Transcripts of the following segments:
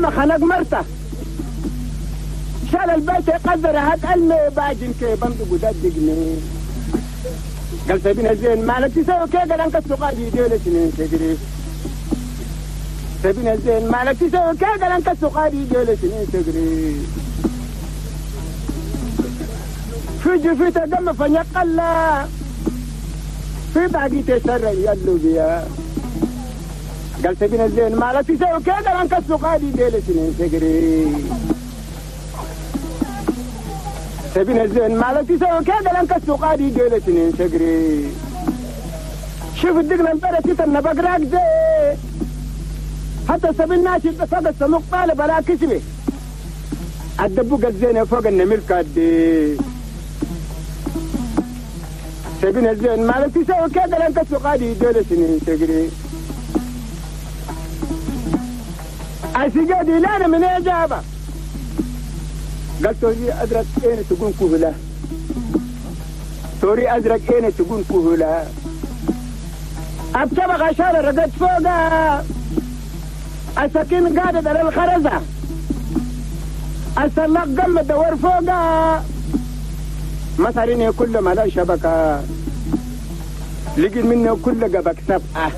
قام خنق مرته شال البيت يقدر هات المي باجن كي بندق وددقني قال سبينا زين مالك تسوي كي قال انك السقادي ديلة سنين تجري سبينا زين مالك تسوي كي قال انك السقادي ديلة سنين تجري في جفيته دم فنيقلا في باقي تسرع يلو بيا قال سبينا زين مالك تسوي كي قال انك السقادي ديلة سنين تجري سبينا الزين مالك تسوي كذا لانك السقادي ديلة سنين تجري شوف الدقن البلد تتنى بقراك زي حتى سبيل ناشي فوق السموق طالب على كسبه الدبوق الزين فوق النمر كادي سبينا الزين مالك تسوي كذا لانك السقادي ديلة سنين تجري السجادي لا من إجابة قال توري أزرق أين تكون كهلا توري أزرق أين تكون كهلا أبتبغ عشان رقد فوقها السكين قادت على الخرزة السلاق قم الدور فوقها مثلين كل ما لا شبكة لقيت منه كل قبك سبعة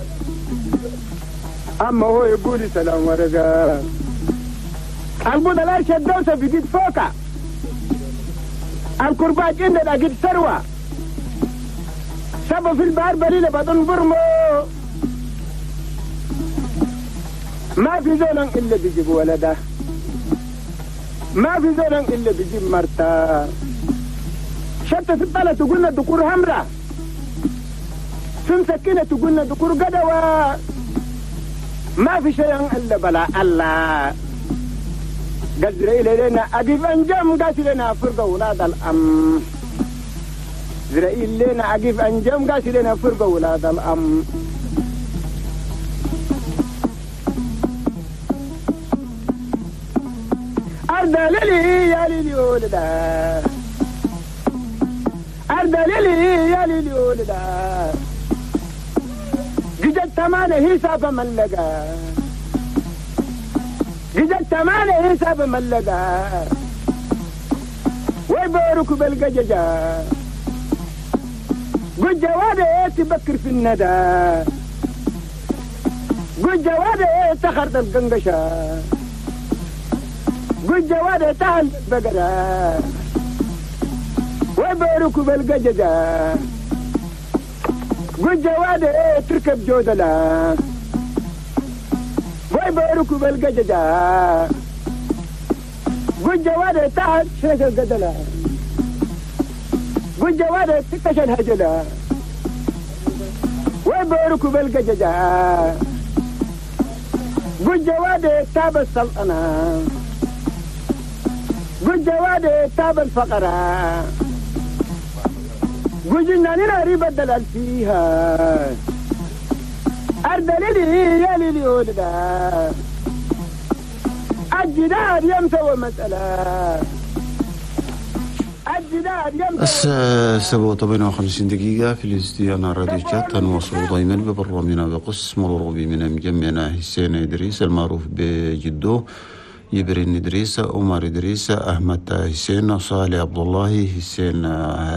أما هو يقول سلام ورقة البودة لا شدوسة في جيد فوقها الكرباج عندنا قد ثروة سبوا في البحر بليلة بدون برمو ما في زول إلا بيجيب ولده ما في زول إلا بيجيب مرته شتت الطلة تقولنا دكور همرة في مسكينة تقولنا دكور قدوة ما في شيء إلا بلا الله قال لنا أقف أنجم قال لنا فرقة ولاد الأم زرائيل لنا أقف أنجم قال لنا فرقة ولاد الأم أرض للي يا للي ولدا أرض للي يا للي ولدا جدت تمانة حساب ملقا جدت تمانة حساب ملقا ويبارك بالقججة قد جوادي تبكر في الندى قد جوادي تخرط القنقشة قد جوادي تهل البقرة ويبارك بالقججة قد جوادي تركب جودلة ويبارك بالقججة قد جوادي تحت شرك القدلة قد جوادي تكش الهجلة ويبارك بالقججة قد جوادي تاب السلطنة قد جوادي تاب الفقرة قد جناننا ريب الدلال فيها أرض للي يا للي ولدا الجدار يمسوى مسألة الجدار يمسوى. الساعة 7:58 دقيقة في الاستديو راديو شات. نواصل دائما ببرنامجنا بقسم الغربي من مجمعنا حسين إدريس المعروف بجدو، جبرين إدريس، عمر إدريس، أحمد حسين، صالح عبد الله حسين،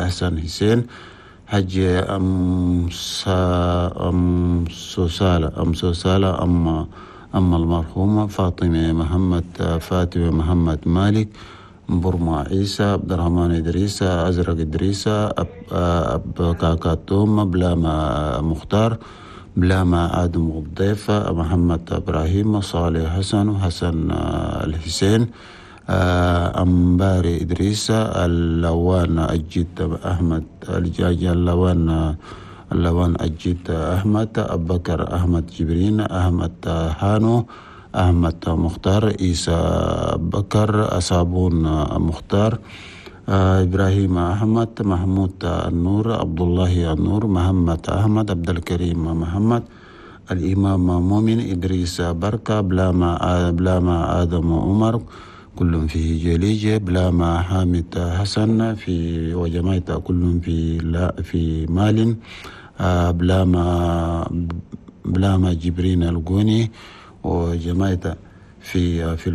حسن حسين، حج أم سوسالة أم المرحومة فاطمة محمد، فاطمة محمد مالك، برما عيسى، عبد الرحمن إدريس، أزرق إدريس، أب كاكاتوم، بلاما مختار، بلاما آدم الضيف، محمد إبراهيم، صالح حسن، حسن الحسين، أمباري إدريس، اللوان أجيد أحمد، الجاج اللوان أجيد أحمد، أبو بكر أحمد جبرين، أحمد هانو، أحمد مختار، عيسى بكر، أصابون مختار، إبراهيم أحمد، محمود النور، عبد الله النور، محمد أحمد، عبد الكريم محمد، الإمام مؤمن، إدريس بركة، بلاما آدم عمر، كلهم في جليجة، بلاما حامد حسن في وجماعة كلهم في لا في مال، بلاما جبرين الجوني وجماعة في